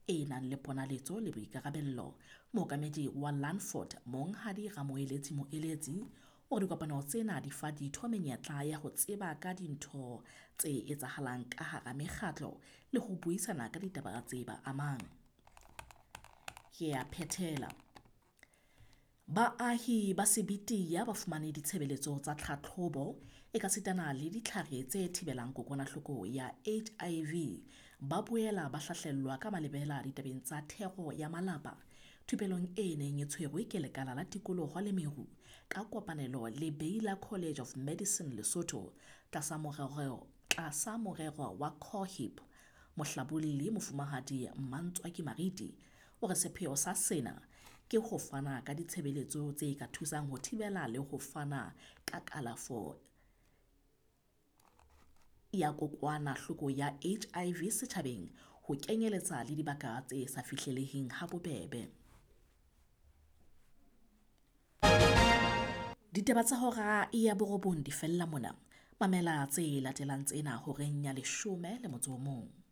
e nang le ponaletso le boikarabello. Mookamedi wa Landford, Monghadi Ramoeletsi Moeletsi, o re dikopano tsena di fa ditho menyetla ya ho tseba ka dintho tse etsahalang ka hara mekgatlo le ho buisana ka ditaba tse ba amang. Ke a phethela. Baahi ba Sebetiya ba fumane ditshebeletso tsa tlhatlhobo ekasitana le ditlhare tse thibelang kokwanahloko ya HIV. Ba boela ba hlahlellwa ka malebela ditabeng tsa thero ya malapa thupelong e neng e tshwerwe ke Lekala la Tikoloho le Meru ka kopanelo le Baylor College of Medicine Lesotho tlasa morero tlasa morero wa COHIP. Mohlabolli Mofumahadi Mmantswaki Mariti o re sepheo sa sena ke ho fana ka ditshebeletso tse ka thusang ho thibela le ho fana ka kalafo ya kokwanahloko ya HIV setjhabeng ho kenyeletsa le dibaka tse sa fihleleheng ha bobebe. Ditaba tsa hora ya borobong di fella mona. Mamela tse latelang tsena horeng ya 11.